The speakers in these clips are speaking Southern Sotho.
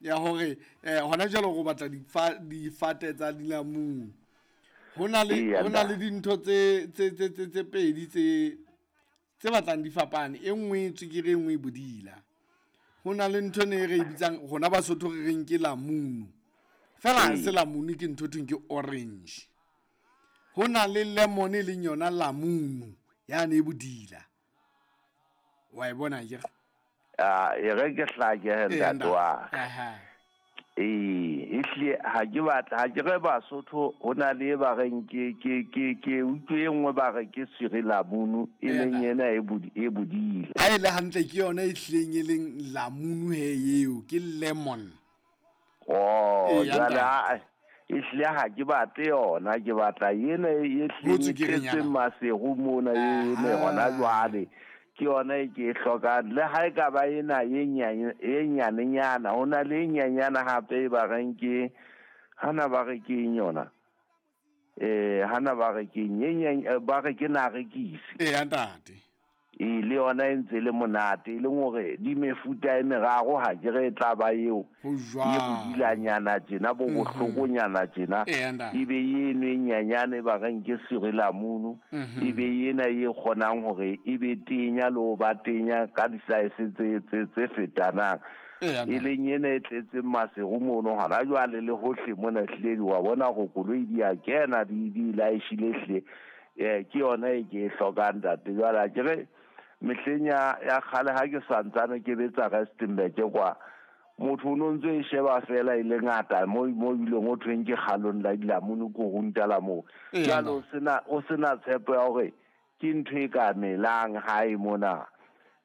Ya hore hona jwale go batla difate tsa dilamunu. Ho na le ho na le dintho tse tse tse tse tse pedi tse tse batlang di fapane. E nngwe e tswekere, e nngwe e bodila. Ho na le ntho ene e re e bitsang rona Basotho re reng ke lamunu. Fela ha se lamunu, ke ntho thweng ke orange. Ho na le lemon e leng yona lamunu yane e bodila. Wa e bona akere? Ah, e re ke hlake he ntate wa ka. Ee, ehlile ha ke batla ha ke re Basotho ho na le e ba reng ke ke ke ke utlwe e nngwe ba re ke swiri lamunu e leng ena e e bodile. Ha e le hantle ke yona e hlileng e leng lamunu he eo ke lemon. Oh, jwale ha ehlile ha ke batle yona, ke batla ena e hlileng e tletseng maseru mona ene hona jwale. Ke yona e ke e hlokang. Le ha e ka ba ena e e nyanenyana, ho na le e nyanyana hape e ba reng ke hana ba re ke eng yona? Eh, hana ba re ke eng? E ba re ke narekisi. Eya ntate. Ee, le yona e ntse e le monate, e leng hore di mefuta e meraro ha ke re e tla ba eo Ho e jwalo. bodilanyana tjena, bo bohlokonyana tjena, Eya ntate. e be eno e nyanyane e ba reng ke sirilamunu, e be ena e kgonang hore e be tenya le ho ba tenya ka di-size tse, tse, tse fetanang. Eya E ntate. leng ena e tletseng maseru mono hona jwale le hohle mona ehlile di wa bona hore koloi di a kena di di laeshile ehlile. Eh, ke yona e ke e hlokang ntate. Jwale ha ke re mehleng ya ya kgale ha ke santsane ke betsa Rustenburg kwa, motho o no ntso e sheba fela e le ngata mo mo bileng o thweng ke kgalong la dilamunu korunta la moo. Eya Jwale o ntate. sena o sena tshepo ya hore ke ntho e ka melang hae mona.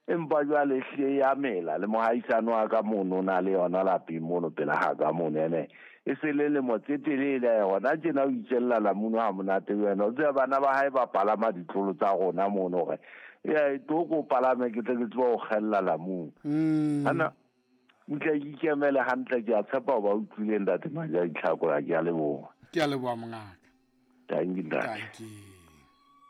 Empa jwale ehlile ya mela le mohaisane wa ka mono o na le yona lapeng mono pela ha ka mono ene e se le lemo tse telele hona tjena o itjella lamunu ha monate le wena o tseba bana ba hae ba palama ditlolo tsa rona mono hore e tlo ko palame ke tle ke tsebe ho kgella lamunu. Ana ntle ke ikemele hantle, ke a tshepa ho ba utlwile ntate Maja Ditlhako, ke a leboha. Ke a leboha mongaka. Thank you ntate. Thank you.